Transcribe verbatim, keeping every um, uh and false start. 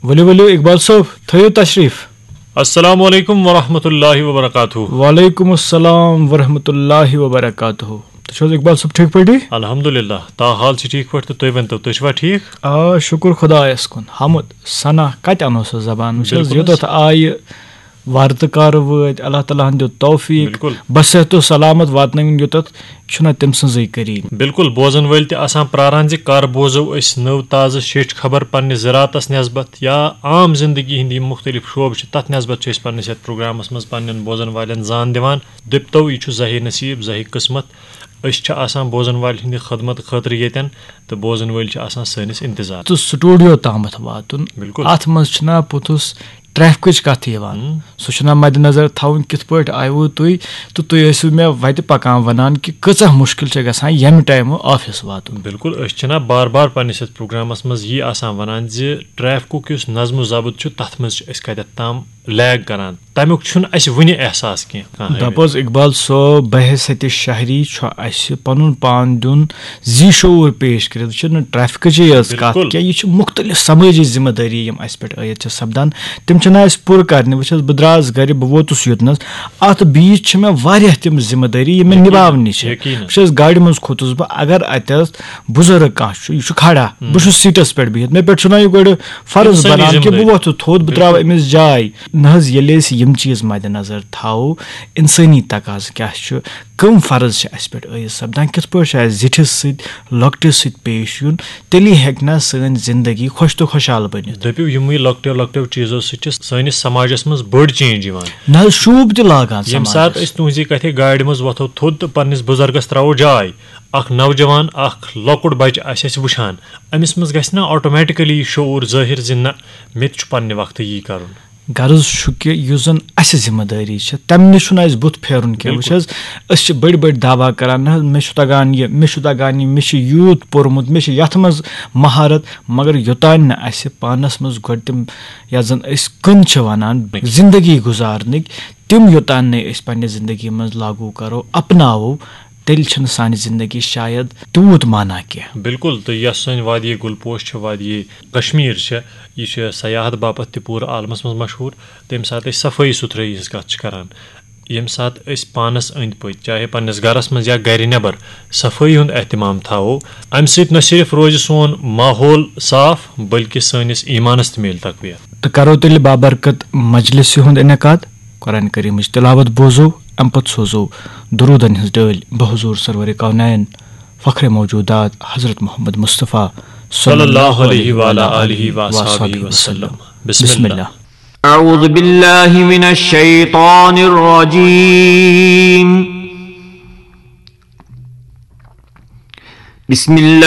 ؤلِو ؤلِو اقبال صٲب، تھٲیِو تشریٖف۔ السلام علیکم ورحمۃ اللہ وبرکاتہ۔ وعلیکم السلام ورحمۃ اللہ وبرکاتہ۔ تُہۍ چھِو حظ اقبال صٲب ٹھیٖک پٲٹھی؟ الحمدللہ، تا حال چھِ ٹھیٖک پٲٹھۍ، تہٕ تُہۍ ؤنۍ تو، تُہۍ چھِوا ٹھیٖک؟ آ، شُکُر خۄدایَس کُن۔ حمد ثنا کَتہِ اَنو سُہ زبان؟ وٕچھ حظ، بِلکُل یوٚتَتھ حظ۔ آیہِ وَرتہٕ کارٕ وٲتۍ، اللہ تعالیٰ ہَن دیُت توفیٖق، بِلکُل۔ بصحت و سلامت واتنٲوِن یوٚتَتھ، یہِ چھُنہ تٔمۍ سٕنٛزٕے کٔریٖم۔ بِلکُل، بوزن وٲلۍ تہِ آسان پراران زِ کر بوزو أسۍ نٔو تازٕ شیٚچھ خبر پننہِ زِراعتس نسبت یا عام زندگی ہٕنٛدۍ یِم مُختٔلِف شعبہٕ چھِ، تتھ نسبت چھِ أسۍ پننِس یتھ پروگرامس منٛز پننٮ۪ن بوزن والٮ۪ن زان دِوان۔ دٔپتو، یہِ چھُ زہے نصیب، زہے قسمت۔ أسۍ چھِ آسان بوزن والٮ۪ن ہٕنٛدِ خدمت خٲطرٕ ییٚتٮ۪ن، تہٕ بوزن وٲلۍ چھِ آسان سٲنِس انتظار۔ تہٕ سٹوڈیو تامَتھ واتُن۔ بِلکُل۔ اَتھ منٛز چھِنہ پوٚتُس ٹریفکٕچ کَتھ یِوان۔ ہُم۔ سُہ چھُنہ مدِ نظر تھاوُن کِتھ پٲٹھۍ آیوٕ تُہۍ، تہٕ تُہۍ ٲسِو مےٚ وَتہِ پَکان وَنان کہِ کۭژاہ مُشکِل چھےٚ گژھان ییٚمہِ ٹایمہٕ آفِس واتُن۔ بِلکُل، أسۍ چھِنہ بار بار پننِس یتھ پروگرامس منٛز یی آسان ونان زِ ٹریفکُک یُس نظم و ضبط چھُ، تتھ منٛز چھِ أسۍ کتٮ۪تھ تام لیگ کران، تمیُک چھُنہٕ اسہِ وُنہِ احساس کینٛہہ۔ کانٛہہ دَپ حظ اقبال صٲب، بحیثیت شہری چھُ اسہِ پنُن پان دیُن زی شعور پیش کٔرِتھ۔ یہِ چھُنہٕ ٹریفکٕچی یٲژ کتھ بِلکُل۔ کینٛہہ، یہِ چھِ مُختٔلِف سمٲجی ذمہٕ دٲری یِم اسہِ پٮ۪ٹھ عٲید چھِ سپدان، تِم چھِنہٕ اسہِ پوٗرٕ کرنہِ۔ وٕچھ حظ، بہٕ درٛاس گرِ، بہٕ ووتُس یوٚتنس، اتھ بیٖچ چھِ مےٚ واریاہ تِم ذمہٕ دٲری یِم مےٚ یقیناً، نِباونہِ چھِ۔ یقیناً۔ وٕچھ حظ، گاڑِ منٛز کھوٚتُس بہٕ، اگر اتٮ۪س بُزرگ کانٛہہ چھُ، یہِ چھُ کھڑا، بہٕ چھُس سیٖٹس پٮ۪ٹھ بِہِتھ، مےٚ پٮ۪ٹھ چھُنہ یہِ گۄڈٕ فرض اِنسٲنی بنان کہِ زِندگی۔ بہٕ وۄتھٕ تھوٚد، بہٕ ترٛاوٕ أمِس جاے۔ نہ حظ، ییٚلہِ أسۍ یِم چیٖز مدِ نظر تھاوو، اِنسٲنی تقاضہٕ کیٛاہ چھُ، کٕم فرض چھِ اَسہِ پٮ۪ٹھ عٲیِد سپدان، کِتھ پٲٹھۍ چھُ اَسہِ زِٹھِس سۭتۍ، لۄکٹِس سۭتۍ پیش یُن، تیٚلی ہیٚکہِ نہ سٲنۍ زِندگی خۄش تہٕ خۄشحال بٔنِتھ۔ دٔپِو، یِموٕے لۄکٹیو لۄکٹیو چیٖزو سۭتۍ چھِ سٲنِس سماجس منٛز بٔڑ چینج یِوان۔ نہ حظ، شوٗب تہِ لاگان ییٚمہِ سماجس۔ ساتہٕ أسۍ تُہنٛزِ کتھِ گاڑِ منٛز وۄتھو تھوٚد تہٕ پننِس بُزرگس ترٛاوو جاے، اکھ نوجوان، اکھ لۄکُٹ بچہِ آسہِ اَسہِ وٕچھان، أمِس منٛز گژھِ نہ آٹومیٹکلی یہِ شعور ظٲہِر زِ نہ، مےٚ تہِ چھُ پننہِ وقتہٕ یی کرُن؟ غرض چھُ کہِ یُس زن اسہِ ذمہٕ دٲری چھِ، تمہِ نِش چھُنہٕ اسہِ بُتھ پھیرُن کینٛہہ۔ وٕچھ بِلکُل۔ حظ، أسۍ چھِ بٔڑۍ بٔڑۍ دعویٰ کران، نہ حظ، مےٚ چھُ تگان یہِ، مےٚ چھُ تگان یہِ، مےٚ چھُ یوٗت پوٚرمُت، مےٚ چھُ یتھ منٛز مہارت، مگر یوٚتانۍ نہٕ اسہِ پانس منٛز گۄڈٕ تِم، یتھ زن أسۍ کٕن چھِ ونان، بِلکُل۔ زندگی گُزارنٕکۍ، تِم یوٚتانۍ نہٕ أسۍ پننہِ زندگی منٛز لاگوٗ کرو، اپناوو، تیٚلہِ چھنہٕ سانہِ زندگی شاید تیوٗت معنی کینٛہہ۔ بِلکُل، تہٕ یۄس سٲنۍ وادی گُل پوش چھِ، وادی کشمیر چھِ، یہِ چھِ سیاحت باپتھ تہِ پوٗرٕ عالمس منٛز مشہوٗر۔ تہٕ ییٚمہِ ساتہٕ أسۍ صفٲیی سُتھرٲیی ہٕنٛز کتھ چھِ کران، ییٚمہِ ساتہٕ أسۍ پانس أنٛدۍ پٔکۍ، چاہے پننِس گرس منٛز یا گرِ نٮ۪بر، صفٲیی ہُنٛد اہتمام تھاوو، امہِ سۭتۍ نہ صرف روزِ سون ماحول صاف، بلکہِ سٲنِس ایمانس تہِ میلہِ تقویت۔ تہٕ کرو تیٚلہِ بابرکت مجلسہِ ہُنٛد انعقاد۔ قرآن کریمٕچ تلاوت بوزو، امہِ پتہٕ سوزو درودن ہٕنٛز ڈٲلۍ بحضور سرور کونین، فخر موجودات حضرت محمد مصطفیٰ صلی اللہ علیہ وعلی آلہ وصحبہ وسلم۔ بسم بسم اللہ۔ اللہ۔ أعوذ بالله من الشيطان الرجيم. بسم الله